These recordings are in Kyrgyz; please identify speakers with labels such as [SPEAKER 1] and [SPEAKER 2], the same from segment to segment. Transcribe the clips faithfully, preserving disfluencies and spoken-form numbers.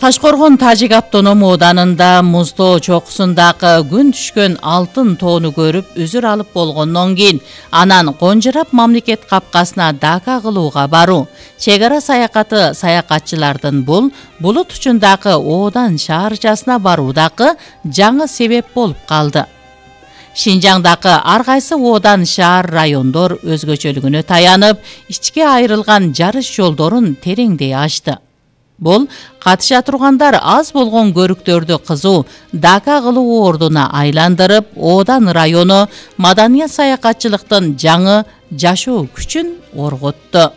[SPEAKER 1] Ташкоргон Тажик автоном ооданында Муздоо чокусундагы күн түшкөн алтын тоону көрүп үзүр алып болгондон кийин анан конжурап мамлекет капкасына Дака кылууга баруу. Чек ара саякаты саякатчылардын бул булут учундагы оодан шаарчасына баруудагы жаңы себеп болуп калды. Шинжаңдагы ар кайсы оодан шаар райондор өзгөчөлүгүнө таянып, ичке айрылган жарыш жолдорун тереңдей ачты. Бул катыша тургандар аз болгон көрүктөрдү кызуу Дака кылуу ордуна айландырып, оодан району маданият саякатчылыктын жаңы жашоо күчүн орготту.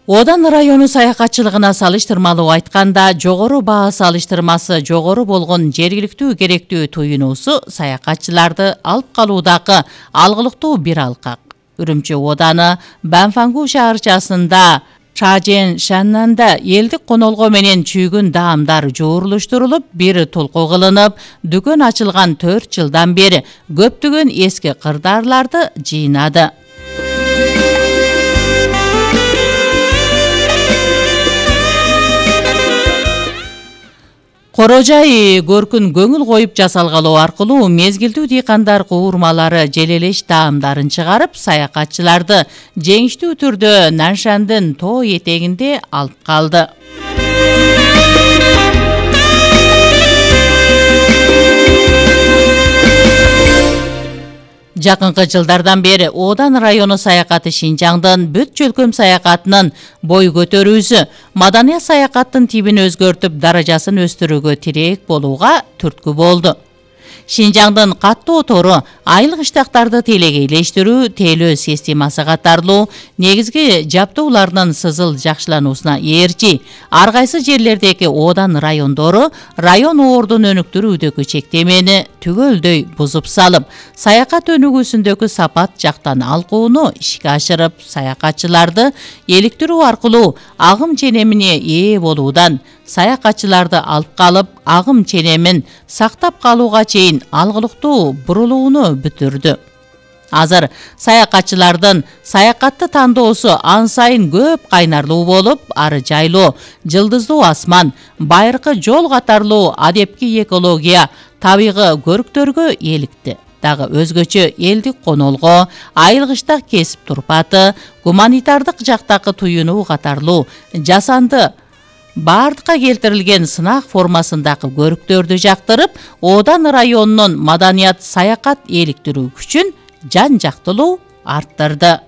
[SPEAKER 1] Оодан району саякатчылыгына салыштырмалуу айтканда, жогору баа салыштырмасы жогору болгон жергиликтүү керектүү туюнуусу саякатчыларды алып калуудагы алгылыктуу бир алкак. Үрүмчү ооданы Банфангу шаарчасында Чажен Шаннанда элдик конолго менен чүйгүн даамдар жуурулуштурулуп, бир толку кылынып, дүкөн ачылган төрт жылдан бери көптөгөн эски кырдаарларды жыйнады. Корожай көркүн көңүл коюп жасалгалоо аркылуу мезгилдүү дыйкандар куурмалары желелеш даамдарын чыгарып, саякатчыларды жеңиштүү түрдө Наншандын тоо этегинде алып калды. Жакынкы жылдардан бери Оодан району саякаты Шинжаңдын бүт чөлкөм саякатынын бой көтөрүүсү маданият саякаттын тибин өзгөртүп, даражасын өстүрүүгө тирээк болууга түрткү болду. Шинжаңдын каттуу тору, айлык иштактарды телегейлештирүү, тейлөө системасы катарлуу негизги жабдуулардын сызыл жакшылануусуна ээрчи, ар кайсы жерлердеги оодан райондору район ордун өнүктүрүүдөгү чектемени түгөлдөй бузуп салып, саякат өнүгүүсүндөгү сапат жактан алкууну ишке ашырып, саякатчыларды эликтирүү аркылуу агым ченемине ээ болуудан саякатчыларды алып калып, агым ченемин сактап калууга чейин алгылыктуу бурулууну бүтүрдү. Азыр саякатчылардын саякатты тандоосу ан сайын көп кайнарлуу болуп, ары жайлоо, жылдыздуу асман, байыркы жол катарлуу адепки экология, табигы көрүктөргө эликти. Дагы өзгөчө элдик конолго, айылгычтак кесип турпаты, гуманитардык жактагы туюнуу катарлуу жасанды бардыкка келтирилген сынак формасындагы көрүктөрдү жактырып, Оодан районунун маданият саякат эликтирүү күчүн жан жактылуу арттырды.